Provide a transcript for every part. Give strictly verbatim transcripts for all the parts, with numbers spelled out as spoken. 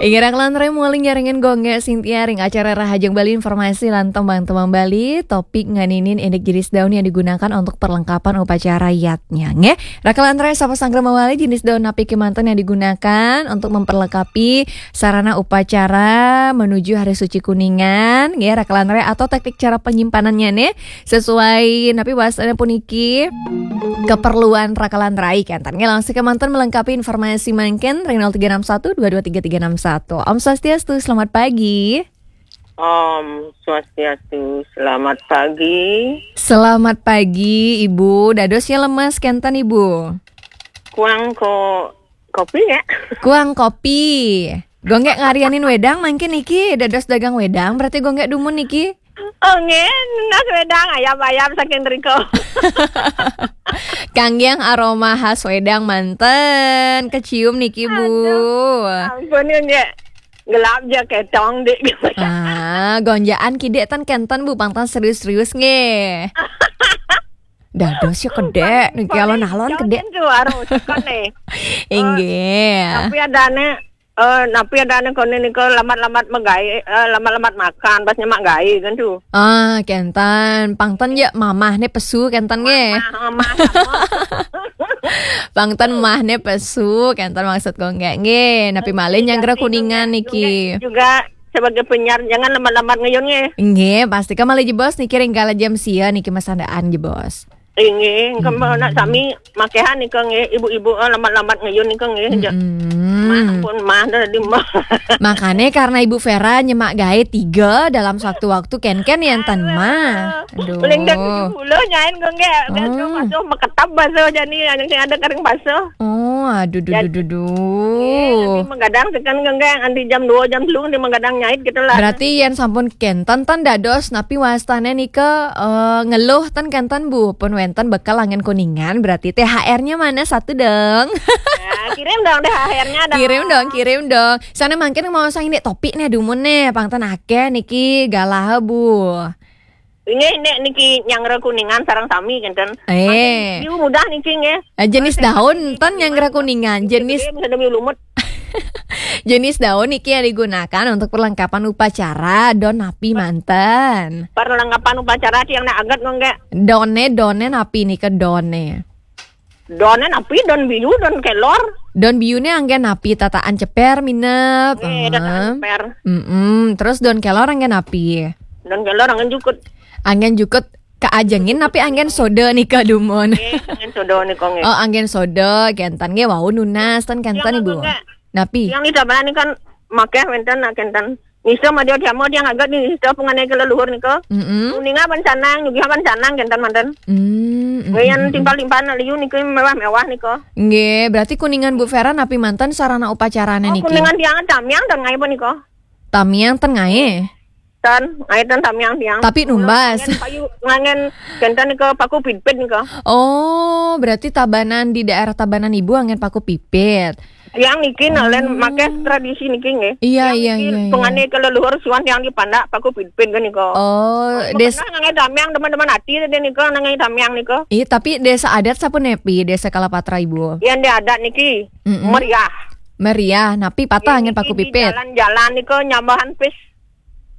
Inggih, raka lantaran maulian nyarengin Gung Gek Sintia ring acara Rahajeng Bali, informasi lan tembang-tembang Bali, topik ngeninin indik jenis daun yang digunakan untuk perlengkapan upacara yadnya, nggih. Raka lantaran sapa sanggra mawali, jenis daun napi kemanten yang digunakan untuk memperlengkapi sarana upacara menuju Hari Suci Kuningan, nggih, raka lantaran, atau teknik cara penyimpanannya nih, sesuai napi bahasanya puniki keperluan raka lantaran, kenten. Nggih, langsung kemanten melengkapi informasi mangkin ring nol tiga enam satu dua dua tiga tiga enam satu. Om Swastiastu, selamat pagi. Om Swastiastu, selamat pagi. Selamat pagi, Ibu. Dados ya lemes kenten, Ibu? Kuang ko-, kopi ya? Kuang kopi. Gung Gek ngarianin wedang mangkin niki, dados dagang wedang, berarti Gung Gek dumun niki? Oh, nggih, nunas wedang, ayam-ayam saking riko. Kanggiang aroma khas wedang manten, kecium niki, Bu. Aduh, ampun, nggih. Gelap ja ketong, Dik. Ah, gonjakan kidik ten kenten, Bu, pang ten serius-serius nggih. Dados ya kedek niki, alon-alon kedek. Jangan tuh, harus kan nih. Inggih. Tapi adane, eh, napi adane kone nika lambat-lambat magae, eh, lambat-lambat makan, pas nyemak gae kan tuh. Ah, kenten. Pang ten ya mamah ne pesu kenten nggih. Mamah, mamah, sama. Pang ten mah ne pesu, kenten maksud Gung Gek nggih. Napi malih nyanggra Kuningan niki. Juga, juga sebagai penyiar, jangan lambat-lambat ngayun nggih. Nggih, pasti ka malih jebos niki ring kala jam sia niki masandaan jebos. Inggih, engke nak sami makehan nika nggih, ibu-ibu, eh, lambat-lambat ngayun nika nggih. Ja-, Mm-mm. Mah pun mah dah di mah. Makanya karena Ibu Vera nyemak gae tiga dalam satu waktu, ken-ken ya enten mah. Aduh. Paling dah tujuh puluh nyain gue nggak, biasa. Oh. Basuh, meketap basuh, jadi yang ada kering basuh. Oh, aduh, duh, duh, duh, duh. Iya, nanti menggadang tekan gue nggak, nanti jam dua, jam telu nanti menggadang nyait gitu lah. Berarti yen sampun kenten ten dados napi wastane nika, eh, ngeluh ten kenten, Bu, pun wenten bekal anggen Kuningan, berarti T H R-nya mana satu dong? Ya, kirim dong T H R-nya dong. Kirim dong, kirim dong. Sana mangkin mau sang ini topik nih, dumun nih, pang ten akeh niki galah, Bu. Ini nek niki nyanggra Kuningan sareng sami kenten. Eh. Mangkin biu mudah niki nggih. Eh, jenis daun ten nyanggra Kuningan, jenis gede, bisa demi lumut. Jenis daun niki yang digunakan untuk perlengkapan upacara, don napi manten? Perlengkapan upacara tiang nak aget nggih. Done, done napi nika done? Done napi, don biu, don kelor. Don biune anggen napi, tataan ceper minep? Nggih, tataan ceper. Mm-mm. Terus don kelor anggen napi? Don kelor anggen jukut. Anggen jukut kaajengin napi anggen soda nika dumun? Nggih, anggen soda nika nggih. Oh, anggen soda, kenten nggih wau nunas ten kenten, Ibu. Napi? Tiang ida bala nika makeh wenten nak kenten. Nista madya dhyama tiang aget nista pangane kaleluhur nika. Mm-mm. Kuninga ban sanang, nyugih ban sanang kenten manten. Mm, mm, mm, mm. Timpal-timpal nak liu nika mewah-mewah nika. Nggih, berarti Kuningan Bu Vera napi manten sarana upacarane niki? Oh, Kuningan tiang tamiang ten ngae nika. Tamiang ten ngae? Ten, ngae ten tamiang tiang. Tapi numbas. Ngangen payu, ngangen kenten nika paku pipit nika. Oh, berarti Tabanan, di daerah Tabanan Ibu anggen paku pipit. Tiang niki nalen makeh tradisi niki nggih. Iya, iya, iya. Tiang niki pangane kaleluhur suan tiang di pandak paku pipit nika. Oh, des- pernah ngangai tamiang teman-teman ati tadi nika ngangai tamiang nika. Iya, tapi desa adat sapunapi, Desa Kalapatra, Ibu? Yang di adat niki meriah. Meriah, napi patah anggen paku pipit? Jalan-jalan nika nyambahan pis.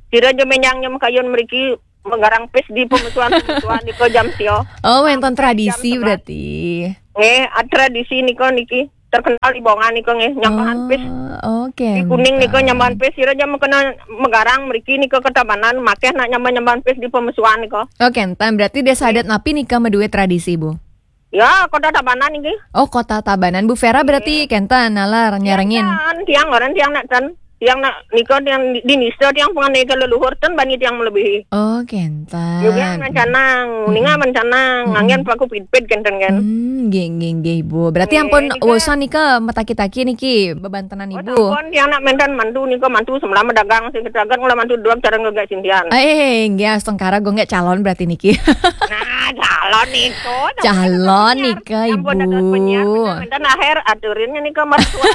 Sira ja menyang nyem kayun mriki menggarang pis di pemesuan-pemesuan nika jam sia. Oh, wenten tradisi berarti. Nggih, tradisi nika niki terkenal di Bongan nika nggih, nyambahan pis. Oh, oke. Di Kuning nika nyambahan pis, sira ja mekena menggarang mriki nika ke Tabanan, makeh nak nyambah-nyambahan pis di pemesuan nika. Oke, kenten. Berarti desa adat napi nika maduwe tradisi, Bu? Ya, Kota Tabanan niki. Oh, Kota Tabanan. Bu Vera berarti kenten nalar nyarengin. Tiang, tiang orang tiang nak ten. Tiang nak nika tiang di, di nista tiang pangane kaleluhur ten bani tiang melebihi. Oh, kenten. Yo, tiang mancanang, ninga mancanang, anggen paku pipit kenten kan. Hmm, nggih, nggih, nggih, Bu. Berarti ampun nggih, nika. Wosan nika mataki-taki niki bebantenan Ibu. Oh, sampun tiang nak menten mantu nika mantu semula dagang sing ketagat ngolah mantu dua cara ngegak sintian. Eh, nggih, astungkara Gung Gek calon berarti niki. Nah, calon nika. Calon nika, Ibu. Ampun, dados penyiar, bener-bener akhir aturinnya nika mertua.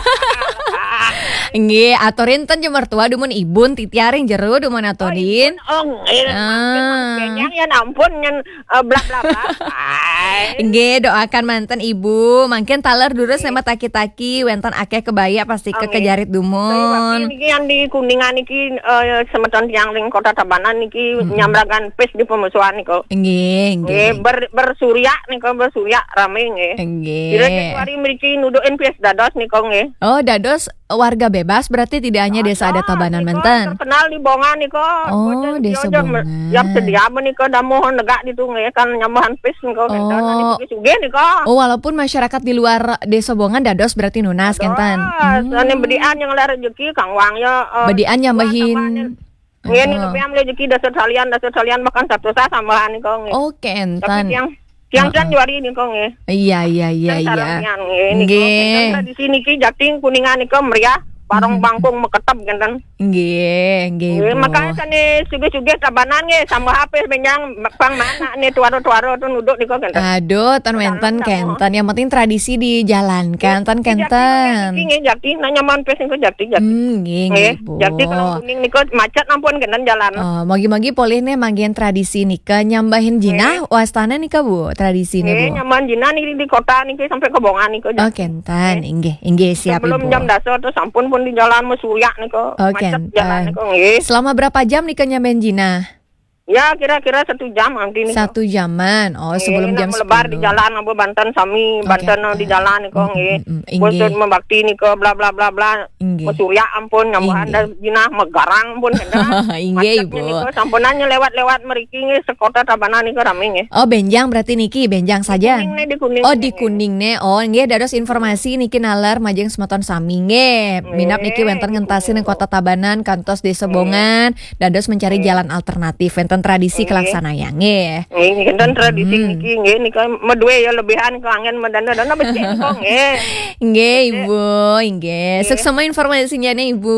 Nggih, aturin ten jembar tua dumun ibun titiaring jeru dumun aturin. Oh, nggih. Ah. Yang ya ampun nyen eh, bla bla bla. Ai. Nggih, doakan manten Ibu. Mangkin taler durus nek mataki-taki wenten akeh kebaya pasti ke Nggih. kejarit Tapi dumun. Niki yang di Kuningan niki eh, semeton tiang ring Kota Tabanan niki Mm-mm. nyamragan pes di pemusuhan niko. Nggih, nggih. Nggih, ber, bersurya niko, bersurya rame nggih. Nggih. Kira Januari mriki nudukin pes dados niko nggih. Oh, dados warga bebas berarti tidak hanya desa adat Tabanan niko, menten. Terkenal di Bongan niko. Oh, Boten desa Bongan. Yang sedia menika damuh negak ditu nggih kan nyambahan pis niko ngenten. Oh. Sugih-sugih niko. Oh, walaupun masyarakat di luar desa Bongan dados berarti nunas kenten. Dados. Hmm. Ane bedian yang lar rezeki Kang Wang ya. Eh, Bedian nyambahin. Nggih, ini Oh. Lebihan rezeki dasa salian, dasa salian bahkan satu sah sambahan niko nggih. Oh, kenten. Tapi yang Yang Heeh. Januari niko nggih. Iya, iya, iya, Kan iya. Saramian nggih niko. Nggih. Kan tradisi niki Jating Kuningan niko meriah, barong Mhm. bangkung meketep ngenten. Nggih, nggih, Nggih, Bu. Makanya sane sugih-sugih Tabanan nggih, sama H P benjang pang mana nih tuaro-tuaro tu nuduk niko ngenten. Aduh, ten wenten Tabanan kenten. Yang penting tradisi dijalankan, ten Nggih, Jating kenten. Niki nggih Jating, nanya manpes niko Jating, Jating. Hmm, nggih, Nggih, nggih, Bu. Jating kalau kuning niko macet ampun ngenten jalan. Oh, mogi-mogi polih nih manggihin tradisi nika nyambahin jinah Nggih. wastana nika, Bu, tradisi nih, Nggih, Bu. Nyambahin jinah nih di kota nih sampai ke Bongan nih, Kak. Oh, kenten. Nggih. Inggih, inggih, siap, Sebelum Ibu. Jam dasa tuh sampun pun di jalan mesuyak nih, Kak. Oh, Macet kenten. Jalan nih, Kak. Nggih. Selama berapa jam nika nyambahin jinah? Ya, kira-kira satu jam nanti nih, Kak. Satu jaman. Oh, Nggih, sebelum nak jam melebar di sepuluh. Jalan apa Banten sami, Oh, Banten kenten. Di jalan nih, Kak. Mm, Nggih. Mm, mm, Khusus inggih. Membakti nih, Kak. Bla, bla, bla, bla. Inggih. Mesuyak ampun, nyambahan Inggih. Dah jinah megarang pun kenten. Inggih, Macet Ibu. Nih, Kak. Sampunan lewat-lewat meriki nggih sekota Tabanan niki rame nggih. Oh, benjang berarti niki, benjang saja. Kuning nih, di Kuning Oh, nih, di nggih. Kuning nih. Oh, nggih, dados informasi niki naler majeng semeton sami nggih. Minap niki Nggih, wenten di ngentasi Kuning. Ning Kota Tabanan kantos Desa Nggih. Bongan, dados mencari Nggih. Jalan alternatif wenten tradisi Nggih. Kelaksanayang nggih. Nggih, wenten tradisi Hmm. niki nggih nika medue ya lebihan kanggen medana-dana becik kok nggih. Nggih, Becik. Ibu, inggih. Nggih. Suksema informasinya nih, Ibu.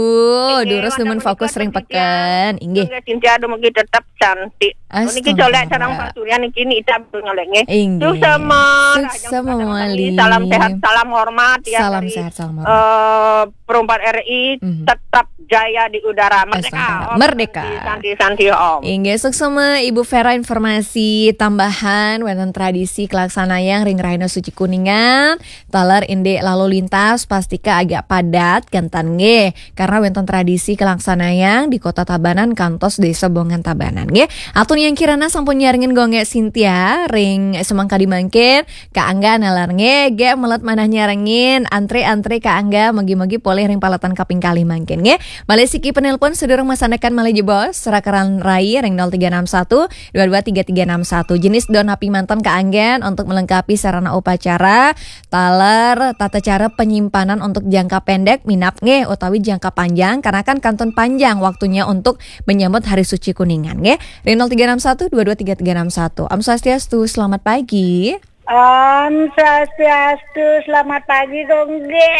Nggih, Durus wonten dumun fokus menika ring Cynthia. Peken. Inggih. Nggih, Cynthia dumugi tetap cantik. Niki Astaga. Colek sareng Pak Surya niki nita ngolek nggih. Inggih. Suksema, Suksema rahajeng malih. Salam sehat, salam hormat ya Salam dari, sehat, salam hormat. Eh, Perumpat R I Mhm. tetap jaya di udara. Merdeka, Astaga. Om. Merdeka. Santi, santi, santi, Om. Inggih, suksema Ibu Vera informasi tambahan wenten tradisi kelaksanayang ring Rahina Suci Kuningan. Taler indik lalu lintas pastika agak padat kenten nggih. Karena wenten tradisi kelaksanayang di Kota Tabanan kantos Desa Bongan Tabanan nggih. Atun yang kirana sampun nyarengin gongge Cynthia ring semangkadi mangkin, Kak Angga nalar nggih, ge melet manah nyarengin, antre-antre Kak Angga, mogi-mogi polih ring paletan kaping kalih mangkin nggih. Malih siki penelpon sedurung masandekan malih jebos, serakeran rai ring nol tiga enam satu dua dua tiga tiga enam satu. Jenis don napi manten Kak Angga untuk melengkapi sarana upacara, taler, tata cara penyimpanan untuk jangka pendek, minap nggih, utawi jangka panjang, karena kan kantun panjang waktunya untuk menyambut Hari Suci Kuningan nggih. Ring nol tiga enam satu dua dua tiga tiga enam satu. Om Swastiastu, selamat pagi. Om Swastiastu, selamat pagi, Gongge.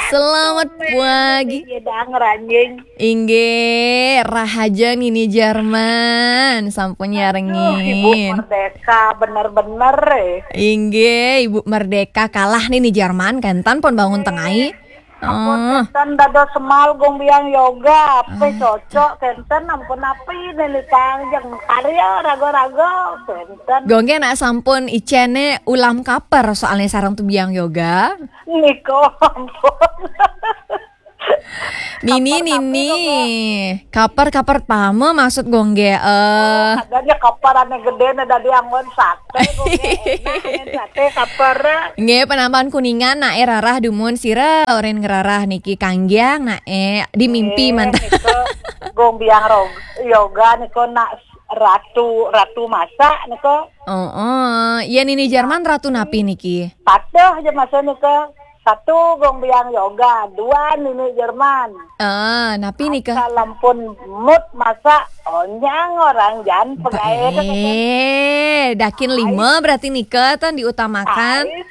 Selamat pagi. Iya, dang, ranjing. Inggih, rahajeng Nini Jerman, sampun Aduh, Ibu nyarengin. Merdeka, bener-bener, eh. Inggih, Ibu Merdeka kalah Nini Jerman, kenten pun bangun Eh. Tengai. Ampun, Oh. Kenten dados semal gong biang yoga, ape Ah. Cocok, kenten ampun api nene panjang karya raga-raga, kenten. Gongge nak sampun icene ulam kaper soalnya sareng tu biang yoga. Niko, ampun. Nini, Kaper tapi Nini. Kaper, kaper pama maksud gongge, eh. Oh, adanya kaper ane gede ne dadi anggon sate, gongge enak, ane sate kaper. Nggih, penambahan Kuningan, nak e rarah dumun sira, oren ngerarah niki kanggiang, nak e di mimpi Eh, mantan. Niko, gong biang rog-, yoga niko nak ratu, ratu masak niko. Oh, oh. Ya, Nini Jerman ratu napi niki? Patuh aja masa niko. Satu gong biang yoga, dua nini Jerman. Ah, napi nika? Asal ampun mut masak onyang orang jan pegae. Eh, dakin lima berarti nika tan diutamakan. Ai,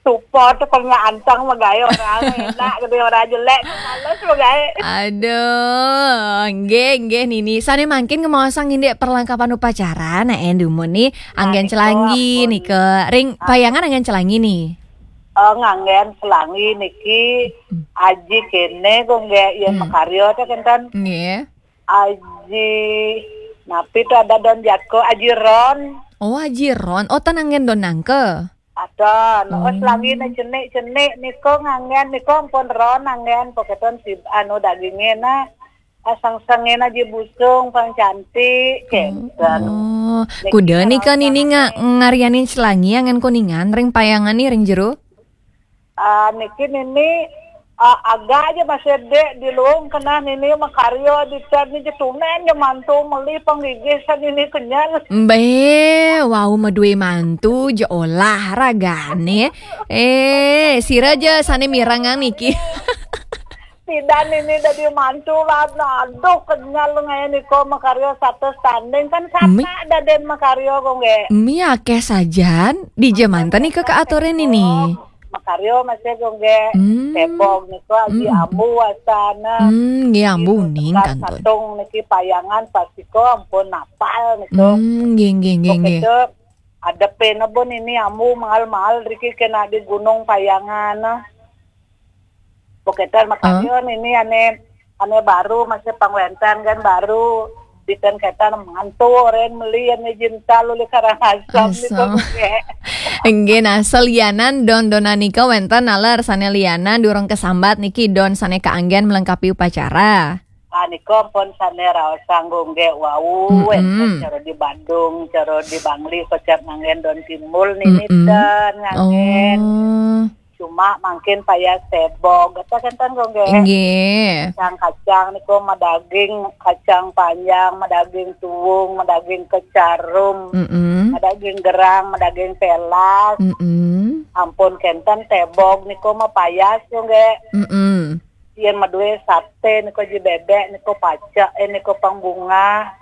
support tu pernah antang megae orang enak gede orang jelek males megae. Aduh, nggih, nggih, Nini. Sane mangkin ngemaosang indik perlengkapan upacara, nah, endumun ni anggen celangi nika. Ring payangan anggen celangi ni. Oh, nganggen Selangi niki, Aji kene, Gung Gek, yen makarya to kenten. Nggih. Aji, napi to ada don jako, Aji Ron. Oh, Aji Ron. Oh, ten anggen don nangke. Ada, no, Selangi ne cenik-cenik niko nganggen, niko ampun ron anggen, poketon si anu daginge na, asang-sange na Aji Busung, pang cantik, kenten. Oh, kuda nika nini nga-, ngarianin Selangi anggen kuningan, ring payangan ni, ring jero? Ah, niki nini, ah, agak aja masih dek di luung kena nini makarya di ten ni jetunen je mantu meli panggigih san nini kenyal. Be, wau madue mantu je olah ragane. Eh, sira je sane mirengang niki. Sidan nini dadi mantu lah, aduh kenyal ngae niko makarya satu standing kan. Mi- sapa daden makarya, Gung Gek. Mi akeh sajan, di jaman tani ke keaturin nini. Makarya masih, Gung Gek. Hmm. Tebog niko Aji Ambu asana. Hmm, nggih, Ambu ning kantun. Satung niki payangan pasiko ampun napal niko. Hmm, nggih, nggih, nggih, nggih. Poketo adepe nebun ini Ambu mahal-mahal riki kena di Gunung Payangan. Poketan makarya nini ane, ane baru masih pang wenten kan baru. Diten ketan mantu oren meli ane jinta luli Karangasem niko, Gung Gek. Nggih, nah, selianan don-donan nika wenten naler sane lianan durung kasambat niki don sane kaanggen melengkapi upacara. Ah, niko pun sane raosang, Gung Gek, wau wenten cara di Badung, cara di Bangli, kocap nganggen don timbul nini ten nganggen. Oh. Cuma mangkin payas tebog, kata kenten, Gung Gek. Nggih. Kacang-kacang niko madaging kacang panjang, madaging tuung, madaging kecarum, madaging gerang, madaging pelas. Mm-mm. Ampun kenten tebog niko mapayas, Gung Gek. Mm-mm. Yen madue sate niko Aji Bebek niko pacak, eh, niko pang bunga.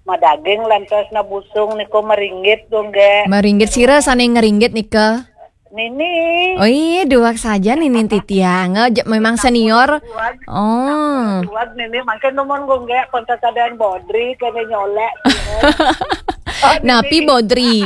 Madaging lantas na busung niko maringgit, Gung Gek. Maringgit sira sane ngeringgit nika? Nini. Oh iya, duak saja nini titiang. Oh, je-, memang senior. Oh. Duak nini, mangkin numun, Gung Gek, pun tatadan bodri kene nyolek. Oh, napi nini. Bodri?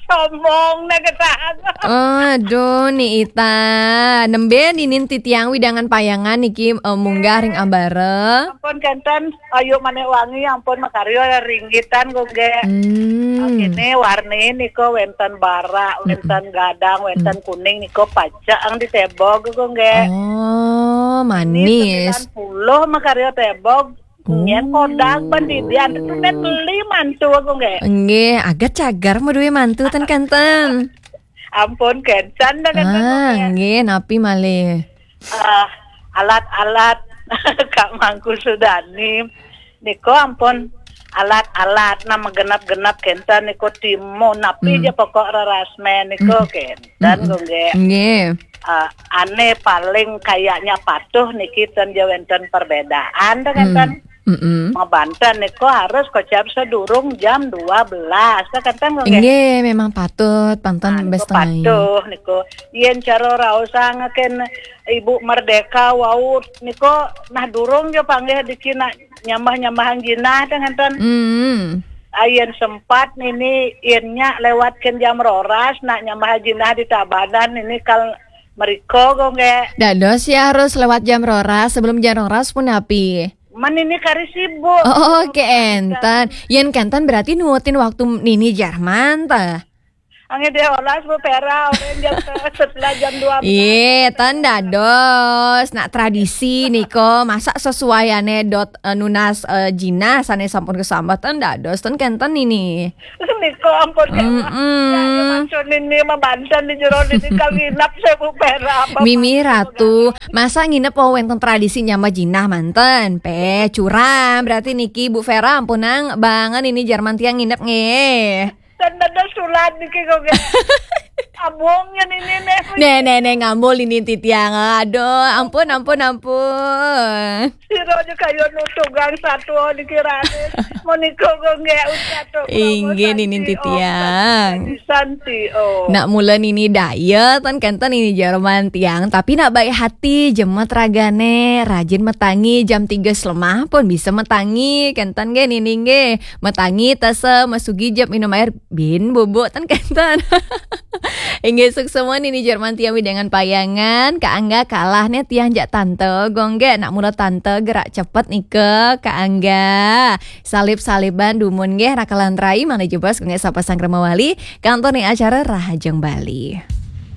Sombong na ketahan. Aduh, Ni Ita. Nembe ninin titiang widangan payangan niki, eh, munggah ring ambara. Ampun kenten, ayu manik wangi, ampun makarya ringgitan, Gung Gek. Hmm. Kene warni niko wenten barak, wenten gadang, wenten kuning niko pacak ang di tebog, Gung Gek. Oh, manis. Sembilan puluh makarya tebog. Nyen kodak ban didian tu met beli mantu, Gung Gek. Nggih, agat cagar madue mantu ten kenten. Ampun kenten dah kenten, Gung Gek. Ah, nggih, napi malih? Ah, alat-alat Kak Mangku Sudani. Niko ampun alat-alat nama genap-genap kenten niko timun napi je pokok rerasmen niko kenten, Gung Gek. Nggih. Ah, ane paling kayaknya patuh niki ten je wenten perbedaan dah kenten. Mm-mm. Mabanten niko harus kocap sedurung jam dua belas dah kenten, Gung Gek. Nggih, memang patut, panten. Ah, niko bes tengah patuh niko. Yen cara raosang ken Ibu Merdeka wau niko nah durung je panggih diki nak nyambah-nyambahan jinah dah kenten. Mm. Ah, yen sempat nini yen nyak lewat ken jam roras nak nyambah jinah di Tabanan nini kal Meriko, Gung Gek. Dados ya harus lewat jam roras, sebelum jam roras pun api. Man ini kari sibuk. Oh, kenten. Yen kenten berarti nuutin waktu nini Jerman, ta? Angge deh olas, Bu Vera, orang jam setelah jam dua belas. Iya, ten dados. Nak tradisi niko, masa sesuaiane dot, eh, nunas, eh, jinah sane sampun kesambat, ten dados, ten kenten ini. Niko ampun, ya, mm-mm. Ya, ya, mancun ini mah banten di jero ini kal nginep saya Bu Vera apa. Mimi Ratu, masa nginep oh wenten tradisi nyambah jinah manten? Pe, curam. Berarti niki Bu Vera ampunang banget ini Jerman tiang nginep nggih. Dan ada sulat niki kok, Gek. Abongnya ini nih. Nih, nih, nih, ngambul ini titiang. Aduh, ampun, ampun, ampun. Sira aja kaya nutugang satwa dikirane. Menika kok nggih usah to. Inggih, Nini Titiang. Santi, oh. Nak mula nini daya, tan kenten nini Jerman tiang, tapi nak baik hati, jemet ragane, rajin metangi, jam tiga selemah pun bisa metangi, kenten nggih nini nggih. Metangi tasa masugi jep minum air bin bubuk, tan kenten. Inggih, suksma niki Jerman tiang wewidangan payangan. Kak Angga kalah nih tiang jak tante. Gong ge, nak mula tante gerak cepet nika, Kak Angga. Salib-saliban dumun nggih, rakalan rai, mangda jebos gong ge sapa sang krama wali. Kantun ning acara Rahajeng Bali.